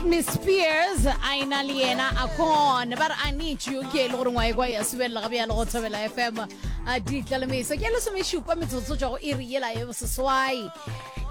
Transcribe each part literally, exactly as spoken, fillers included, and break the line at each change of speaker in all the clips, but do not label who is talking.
Britney Spears a ena le yena Akon ba re I need you ke e le gore ngwa e kwa ya subelela ga bjalo go Thobela F M a ditlalemeso ke lesomešupa metsotso tšwa go iri yela ye boseswai.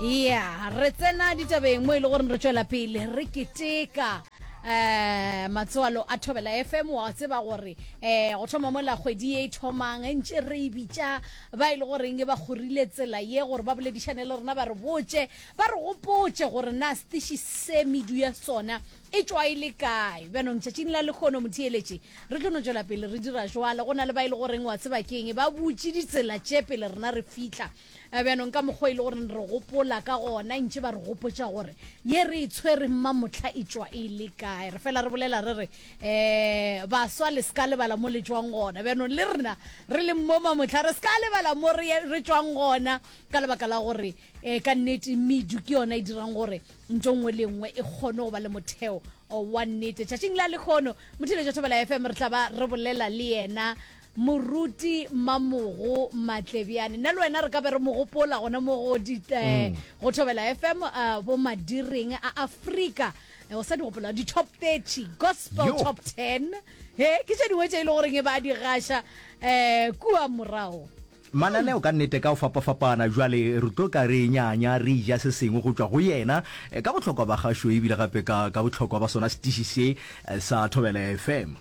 Ya re tsena ditabeng mo e le gore re tšwela pele re keteka um matswalo a Thobela F M. Wa tseba gore um go thoma mola kgwedi ye e thomang ntše re e bitša ba e le goreng ba kgorile tsela ye gore ba boledišane le rena, ba re botše, ba re gopotše gore na setiši se medu ya sona e tšwa e le kae. Bjanong tšatšing la lekgono motheeletše re tlo no tšwela pele re dira jwale. Go na le ba e le goreng wa tseba keng, ba butše ditsela tše pele rena re fihla. Bjanong ka mokgwa e le gore re gopola ka gona ntše ba re gopotša gore ye re e tshwere mmamotlha e tšwa e le kae. Re fela re bolela re re um baswa le se ka lebala mo le tšwang gona. Bjanong le rena re le mo mamotlha re se ka lebala mo re tšwang gona, ka lebaka la gore um ka nnete medu ke yona e dirang gore ntho nngwe le nngwe e kgone go ba le motheo wa nnete. Tšatšing la lekgono motheletša Thobela F M re tla ba re bolela le yena Moruti Mamogo Matlebjane. Nna le wena re ka be re mo gopola gona mo go di eh, go Thobela F M, uh, bo madireng a Afrika. O sa di gopola di-top thirty gospel?
Yo.
Top ten he ke tše dingwe tše e le goreng e ba di gaša um kua morago.
Mananeo ka nnete ka go fapafapana. Jwale re tlo ka re nyanya re ja se sengwe go tšwa go yena eh, ka bohlokwa ba gašo ebile gape ka ka bohlokwa ba sona setiši se eh, sa Thobela F M.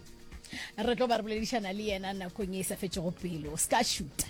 Re tlo ba re boledišana le yena nakong e sa fetšego pele. O se ka šuta.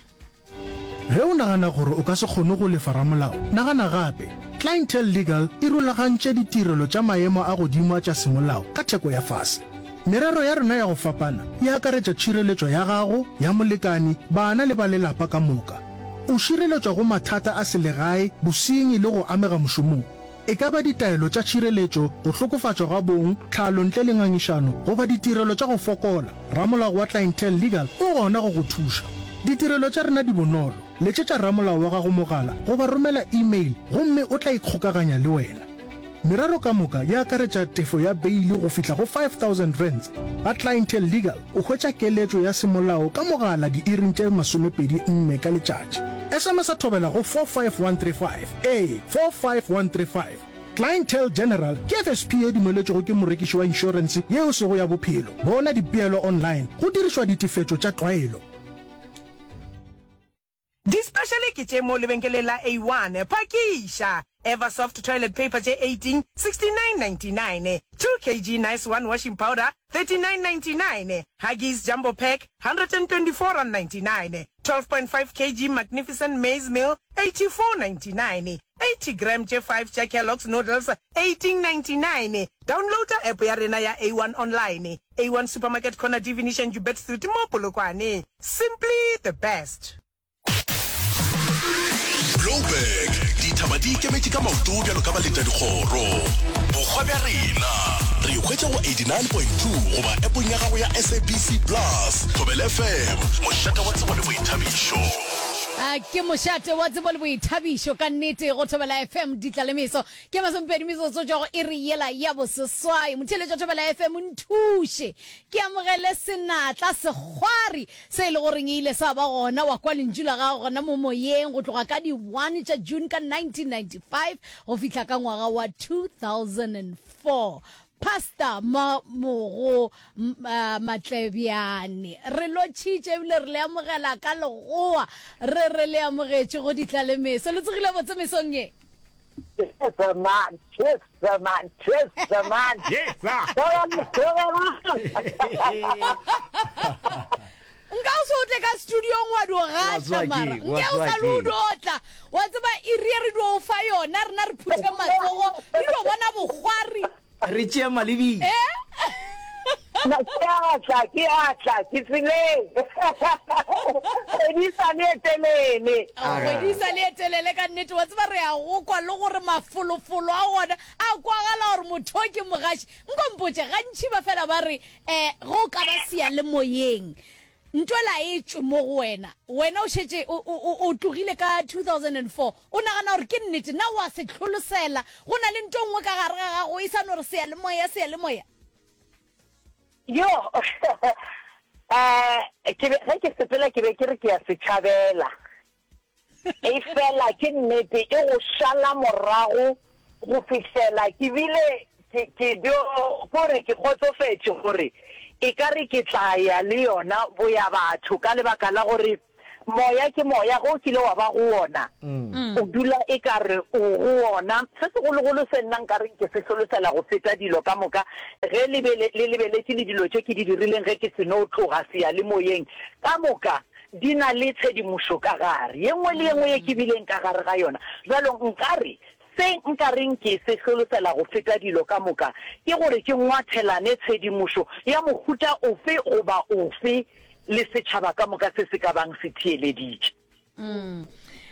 Ge o nagana gore o ka se kgone go lefa ramolao, nagana gape. Clientele Legal e rulagantše ditirelo tša maemo a godimo a tša semolao ka theko ya fase. Merero ya rena ya go fapana e akaretša tšhireletšo ya gago, ya molekani, bana le ba lelapa ka moka. O šireletšwa go mathata a selegae, bosenyi le go amega mošomong. E ka ba ditaelo tša tšhireletšo, go hlokofatšwa ga bong, tlhalo ntle le ngangišano, goba ditirelo tša go fokola, ramolao wa Clientele Legal o gona go go thuša. Ditirelo tša rena di bonolo. Letšetša ramolao wa gago mogala goba romela email gomme o tla ikgokaganya le wena. Merero ka moka e akaretša tefo ya beile go fihla go five thousand rands. Ga Clientele Legal o hwetša keletšo ya semolao ka mogala diiring tše masomepedi nne ka letšatši. S M S a Thobela go four five one three five. Ee, four five one three five. Clientele General ke F S P ye dumeletšwego ke morekiši wa inšorense yeo sego ya bophelo. Bona dipeelo online go dirišwa ditefetšo tša tlwaelo.
Di-special ke tše mo lebenkeleng la A one. Phakiša! Eversoft toilet paper tše eighteen, sixty-nine ninety-nine. two kilograms Nice One washing powder, thirty-nine ninety-nine. Huggies Jumbo Pack, one hundred twenty-four ninety-nine. twelve point five kilograms Magnificent Maize Meal, eighty-four ninety-nine. eighty gram tše five tša Kellogg's Noodles, eighteen ninety-nine. Downloada app ya rena ya A one online. A one Supermarket, corner Divination Joubert Street mo Polokwane. Simply the best.
Blouberg dithaba di ikemetše ka maoto bjalo ka baletadikgoro. Bokgwa bja rena re hwetša go eighty-nine point two goba appong ya gago ya S A B C Plus. Thobela F M, mošate wa tsebo le boithabišo.
A ke mošate wa tsebo le boithabišo ka nnete go Thobela F M. Ditlalemeso ke masomepedi metsotso tšwa go iri yela ya boseswai. Motheeletša Thobela F M, nthuše ke amogele senatla sekgwari se e le goreng e ile sa ba gona wa kwa lentšu la gago gona mo moyeng go tloga ka di one tša June ka nineteen ninety-five go fihla ka ngwaga wa two thousand four, Pastor Mamogo uh, Matlebjane. Re lotšhitše ebile re le amogela ka legoa, re re le amogetše go ditlalemeso. Le tsogile botse mesong ye?
Yes, man. Yes, man. Yes, man.
Yes, sir.
Nka o se o tle ka studiong wa dio gaša
tseba
mara
keng, wa
nke o
tseba
sa le o
keng.
dio tla wa tseba iri e re dio o fa yona rena re phuthe matsogo re dio bona bokgwari.
Re tšea malebile.
Eh.
Na ke atla, ke atla, ke tseleng. Kgwedi sa le e telele.
Kgwedi sa le e telele ka nnete. Wa tseba re a go kwa le gore mafolofolo a gona a kwagala gore motho o ke mogaši. Nko mpotše, gantši ba fela ba re um go ka ba seyalemoyeng ntwela e tšwe mo go wena, wena o šetše o, o, o, o tlogile ka two thousand four, o nagana gore ke nnete na wa se tlholosela go na le nto nngwe ka gare ga gago e sa no re seyalemoya, seyalemoya?
Yo, eh, ke be ge ke sepela ke be ke re ke ya setšhabela. E fela ke nnete e go šala morago go fihlela ke bile Ke, ke dio, kore ke kgotsofetše gore e ka re ke tla ya le yona boyabatho ka lebaka la gore moya ke moya, ge o kile wa ba go wona, o dula e ka re o go wona. Se segologolo se nna nka reng ke se hlolosela go feta dilo ka moka, ge le be le lebeletše le dilo tše ke di dirileng ge ke seno tloga seyalemoyeng, ka moka di na le tshedimošo ka gare, ye nngwe le ye nngwe ye ke bileng ka gare ga yona. Bjalo nka re Se nka reng ke se hlolosela go feta dilo ka moka ke gore ke ngwathelane tshedimošo ya mohuta ofe goba ofe le setšhaba ka moka se se ka bang se theeleditše.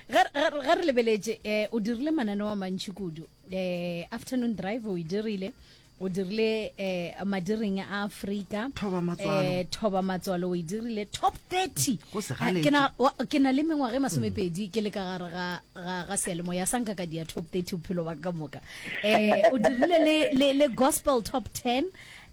Ge, ge, ge re lebeletše, eh, o dirile mananeo a mantši kudu. Eh, Afternoon Drive o e dirile, o dirile eh, Madiring a Afrika,
Thoba Matswalo.
eh, Thoba Matswalo o e dirile, Top thirty.
Go se
Eh,
galetše.
ke na, wa, ke na le mengwaga e masomepedi ke le ka gare ga, ga, ga seyalemoya sa nka ka dia Top thirty bophelo ba ka moka. Eh, o dirile le, le, le Gospel Top ten,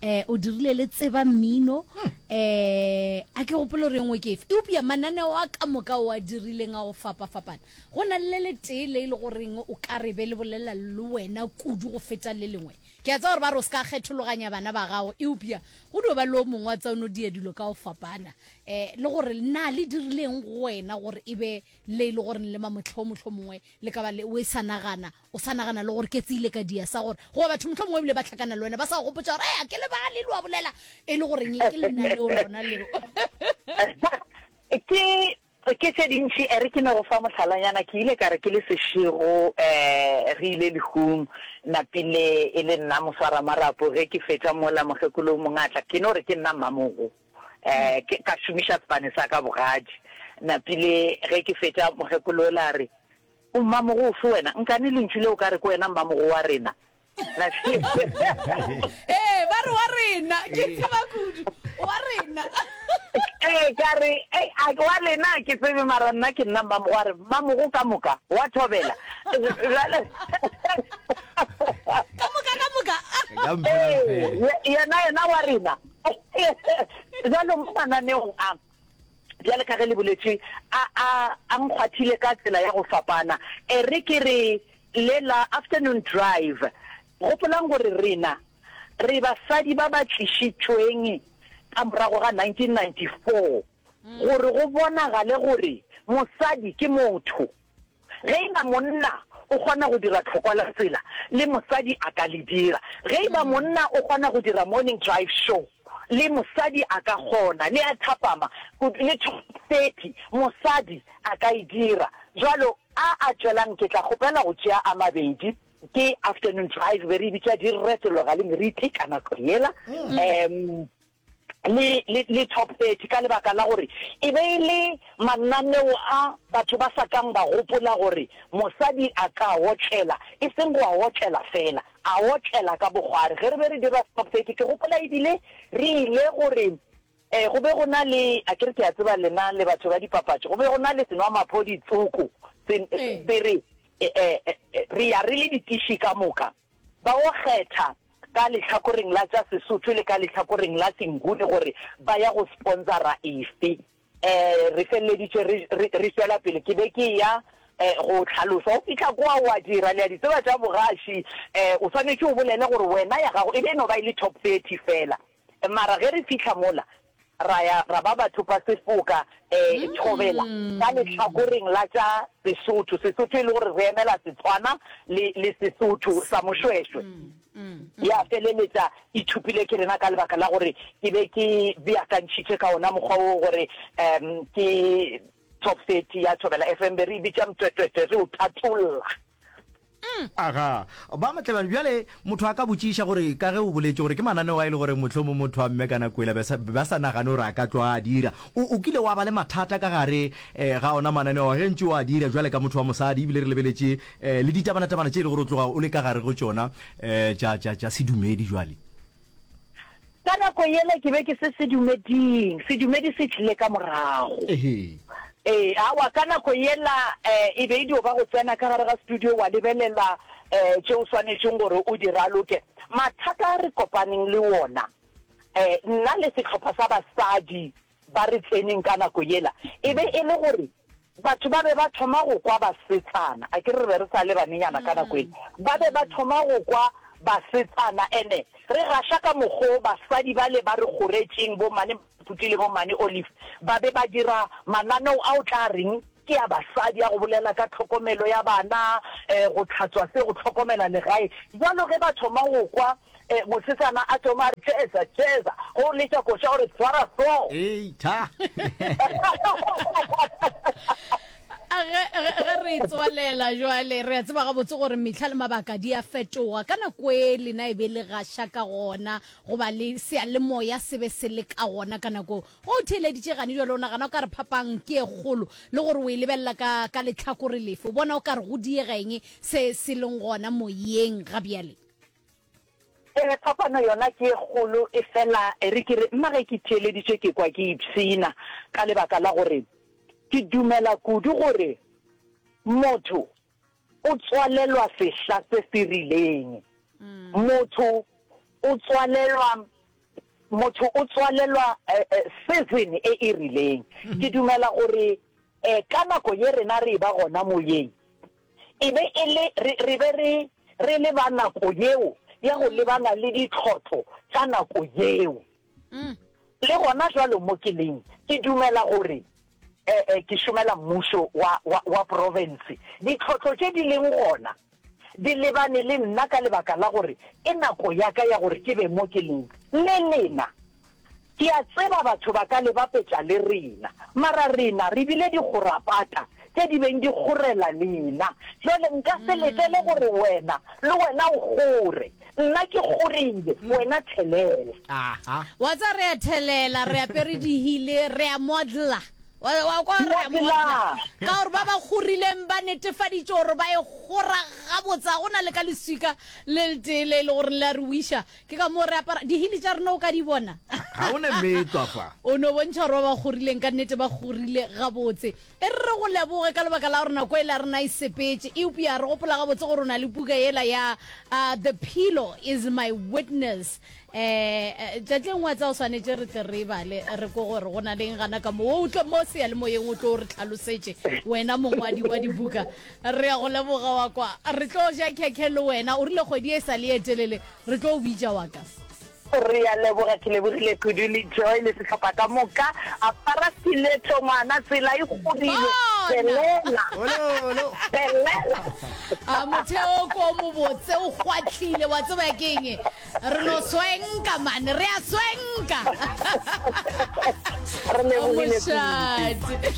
eh, o dirile le Tseba Mmino, eh, a ke gopole gore e nngwe ke efe. Eupša mananeo a ka moka o a dirileng a go fapafapana, go na le le letee le e le goreng o ka re be le bolela le wena kudu go feta le lengwe. Ke a tseba gore ba re o se ka kgethologanya bana ba gago, eupša go dio ba le o mongwe wa tsa o no dia dilo ka go fapana. Eh, le gore na le dirileng go wena gore e be le e le gore le mamohlho mohlomongwe le ka ba le o e sa nagana, o sa nagana le gore ke tsile ka dia sa gore goba batho mohlomongwe ebile ba hlakana le wena ba sa go gopotša gore, Ea, ke lebale le wa bolela, e le goreng ke lenaneo lona leo.
Ke Ke tše dintši. E re ke no go fa mohlalanyana. Ke ile ka re ke le sešego, um re ile lehung, napile e le nna moswaramarapo. Ge ke fetša mola, mokgekolo o mongwe a tla. Ke no re ke nna mmamogo. Um ke, ka šomiša sefane sa ka bogadi. Napile ge ke fetša, mokgekolo yola a re, O mmamogo ofe wena? Nkane lentšu le o ka re ke wena mmamogo wa rena?
Ee, ba re wa rena. Ke tseba kudu. Wa rena.
Ee, ka re, ei, a wa lena a ke tsebe, mara nna ke nna mmamogo. A re, mmamogo ka moka, wa thobela. Bjale.
Ka moka, ka moka.
Ka mphe,
Ee, yena, yena wa rena. Bjalo mo mananeong a, bjale ka ge le boletše, a, a, a nkgwathile ka tsela ya go fapana. E re ke re, Le la Afternoon Drive. Gopolang gore rena re basadi ba ba tlišitšweng ka morago ga nineteen ninety-four gore go bonagale gore mosadi ke motho. Ge e ba monna o kgona go dira tlhokwa la tsela, le mosadi a ka le dira. Ge e ba monna o kgona go dira Morning Drive Show, le mosadi a ka kgona. Le a thapama, le Top thirty, mosadi a ka e dira. Bjalo A a tšwelang ke tla kgopela go tšea a mabedi, ke Afternoon Drive, be re e bitša di retologa le meriti ka nako yela, um le, le, le Top thirty, ka lebaka la gore e be e le mananeo a batho ba sa kang ba gopola gore mosadi a ka otlela, e seng go a otlela feela, a otlela ka bokgwari. Ge re be re dira Top thirty, ke gopola ebile re ile gore Ee, go be go na le, a ke re ke a tseba lena le batho ba dipapatšo, go be go na le senwamaphodi tsoko se, se re, e, e, re ya re le ditiši ka moka, ba o kgetha ka lehlakoreng la tša Sesotho le ka lehlakoreng la Senguni gore ba ya go sponsora efe. E, re feleleditše re, re, re tšwela pele. Ke be ke eya e, go hlalosa. O fihla kwa o a dira, le a di tseba tša bogaši, e, o swanetše o bolele gore wena ya gago e be e no ba e le top thirty feela. Mara ge re fihla mola, ra ya ra ba bathopa sefoka, eh, thobela, ka lehlakoreng la tša Sesotho, Sesotho e le gore re emela Setswana le, le Sesotho sa Mošwešwe. Ya feleletša e thopile ke rena ka lebaka la gore ke be ke beakantšhitše ka ona mokgwa wo gore, um, ke Top thirty ya Thobela F M be re e bitša mtwetwetwe, re o tatolla.
Aga, ba Matlebane, bjale motho a ka botšiša gore ka ge o boletše gore ke mananeo a e le gore mohlomong motho wa mme ka nako yela be sa, be ba sa nagane gore a ka tloga a dira. O, o kile wa ba le mathata ka gare eh, ga ona mananeo a ge ntše o a dira bjale ka motho wa mosadi ebile re lebeletše eh, le ditabanatabana tše e le gore o tloga o le ka gare go tšona eh, tša, tša, tša sedumedi bjale?
Ka nako yela ke be ke se sedumeding, sedumedi se tlile ka morago.
Ehe.
Ee, aowa, ka nako yela e be e dio ba go tsena ka gare ga studio wa lebelela tše o swanetšeng gore o di raloke. Mathata a re kopaneng le wona, nna le sehlopha sa basadi ba re tseneng ka nako yela, e be e le gore batho ba be ba thoma go kwa basetsana, a ke re re be re sa le banenyana ka nako yela, ba be ba thoma go kwa basetsana ene re gaša ka mokgo basadi bale ba re kgoretšeng bo mane Phuti le bo mane Olive ba be ba dira mananeo a o tla reng ke a basadi a go bolela ka tlhokomelo ya bana, go hlatswa se, go hlokomela legae. Bjalo ge ba thoma go kwa mosetsana a thoma a re tšeza, tšeza, ge o letša koša o re tshwara hlogo.
Ei, tha!
Ge, ge, ge re tswalela jwale, re a tseba gabotse gore mehla le mabaka di a fetoga. Ka nako e lena e be le gaša ka gona, goba le seyalemoya se be se le ka gona ka nako Ge o theeleditše gane bjale, o nagana o ka re phapang ke e kgolo, le gore o e lebelela ka, ka lehlakore lefe? O bona o ka re go diega eng se se leng gona moyeng ga bjale?
Ee, phapano yona ke e kgolo, efela e re ke re, nna ge ke theeleditše ke kwa ke ipshina ka lebaka la gore ke dumela kudu gore motho o tswalelwa sehla se se rileng. Motho o tswalelwa Motho o tswalelwa season e e rileng. Ke dumela gore ka nako ye rena re eba gona moyeng, e be e le, re, re be re, re le ba nako yeo ya go lebana le ditlhotlo tša nako yeo. Le gona jwalo mo ke leng, ke dumela gore ke šomela mmušo wa, wa, wa profense. Ditlhotlo tše di leng gona di lebane le nna ka lebaka la gore ke nako ya ka ya gore ke be mo ke leng. Le lena, ke a tseba batho ba ka le bapetša le rena, mara rena re bile dikgorapata tše di beng di kgorela lena. Bjale nka se letele gore wena le wena o kgore. Nna ke kgorile, wena thelela.
Aha.
Wa tseba re a thelela, re apere dihile, re a modela. Wa, wa kwa re a modela. Ka gore ba ba kgorileng ba netefaditše gore ba e kgora gabotse, ga go na le ka leswika le letee le e le gore le a re wiša. Ke ka moo re apara dihile tša rena o ka di bona.
Ga go na meetlwa fa.
O no bontšha gore ba ba kgorileng ka nnete ba kgorile gabotse. E re re go leboge ka lebaka la gore nako yela ya rena e sepetše, eupša re gopola gabotse gore o na le puka yela ya The Pillow Is My Witness. Um tšatši le nngwe wa tseba o swanetše re tle re e bale re kwe gore go na le eng gana ka mo. O tle mo seyalemoyeng o tlo re hlalosetše wena mongwadi wa dibuka. Re a go leboga wa kwa. Re tlo ja khekhe le wena. O rile kgwedi e sa le ye telele re tlo o bitša wa ka.
Re a leboga, ke lebogile kudu le Joy le sehlopha ka moka. Apara stiletto ngwana, tsela e godile. Thelela. Thelela.
A motheo ko o mobotse o kgwahlile, wa tseba ke eng? Re no swenka man, re a swenka.
Re lebogile kudu.
Mošate.